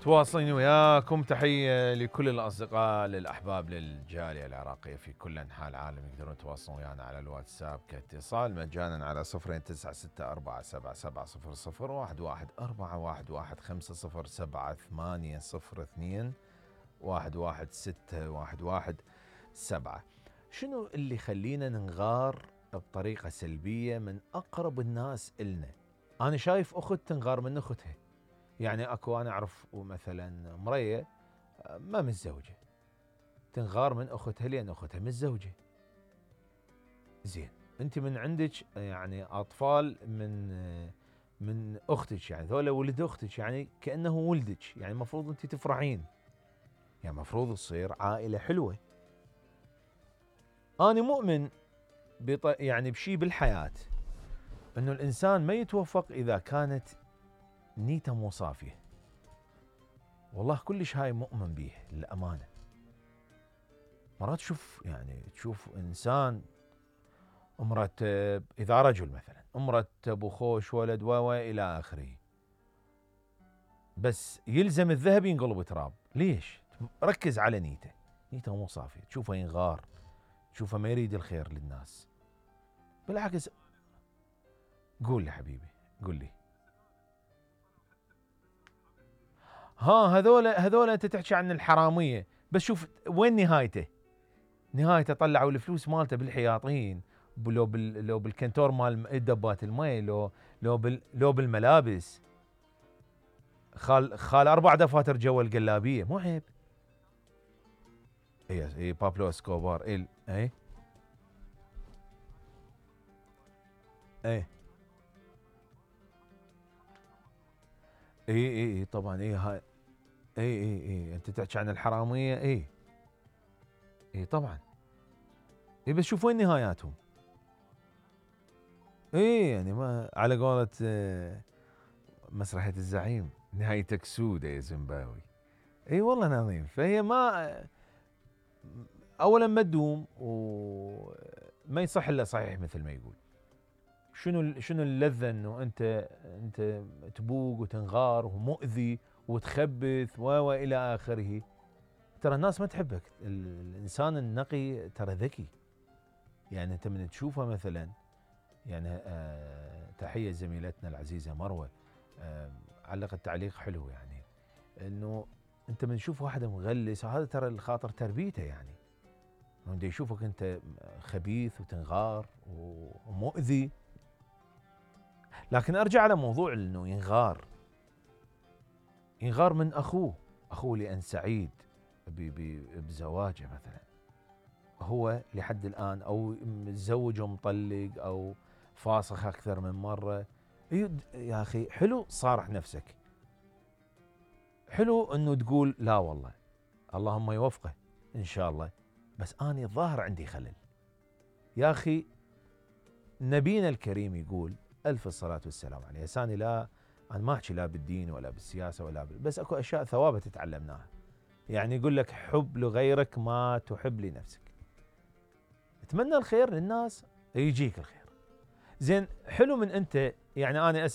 تواصلين وياكم. تحية لكل الأصدقاء للأحباب للجالية العراقية في كل أنحاء العالم. يقدرون يتواصلون ويانا على الواتساب كاتصال مجانا على 092-640-770-415-502-116-117. شنو اللي يخلينا ننغار بطريقة سلبية من أقرب الناس إلنا؟ أنا شايف أخت تنغار من أختها. يعني أكو أنا أعرف مثلا مرية ما متزوجة تنغار من أختها لأن أختها متزوجة. زين أنت من عندك يعني أطفال من أختك، يعني ذولا ولد أختك، يعني كأنه ولدك، يعني المفروض أنت تفرحين، يعني المفروض تصير عائلة حلوة. أنا مؤمن يعني بشي بالحياة أنه الإنسان ما يتوفق إذا كانت نيته مو صافية. والله كلش هاي مؤمن بيه للأمانة. مرات تشوف إنسان مرتب، إذا رجل مثلا مرتب وخوش ولد إلى آخره، بس يلزم الذهب ينقلب تراب. ليش؟ ركز على نيته مو صافية، تشوفه ينغار، تشوفه ما يريد الخير للناس. بالعكس قول لي حبيبي، قول لي. هذول انت تحكي عن الحراميه، بس شوف وين نهايته. نهايته طلعوا الفلوس مالته بالحياطين، لو بالكنتور مال دبات المي، لو بالملابس. خال 4 دفاتر جوا القلابيه، مو عيب؟ اي بابلو اسكوبار. اي طبعا. هاي اي انت تحكي عن الحراميه. اي طبعا. بس شوف وين نهاياتهم. يعني ما على قولة مسرحية الزعيم، نهايتك سودة يا زمباوي. والله نظيم. فهي ما اولا ما تدوم، وما يصح الا صحيح مثل ما يقول. شنو اللذة انه انت تبوق وتنغار ومؤذي وتخبث والى اخره. ترى الناس ما تحبك. الانسان النقي ترى ذكي. يعني انت من تشوفه مثلا، يعني تحية زميلتنا العزيزة مروة علقت تعليق حلو، يعني انه انت من تشوف واحد مغلس، هذا ترى الخاطر تربيته، يعني من يشوفك انت خبيث وتنغار ومؤذي. لكن ارجع على موضوع انه ينغار من اخوه لان سعيد بزواجه مثلا، هو لحد الان او متزوج ومطلق او فاسخ اكثر من مره. يا اخي حلو صارح نفسك، حلو انه تقول لا والله اللهم يوفقه ان شاء الله، بس اني الظاهر عندي خلل. يا اخي نبينا الكريم يقول الف الصلاه والسلام عليه. انا ما احكي لا بالدين ولا بالسياسه بس اكو اشياء ثوابت تعلمناها. يعني يقول لك حب لغيرك ما تحب لنفسك. اتمنى الخير للناس يجيك الخير. زين حلو من انت، يعني انا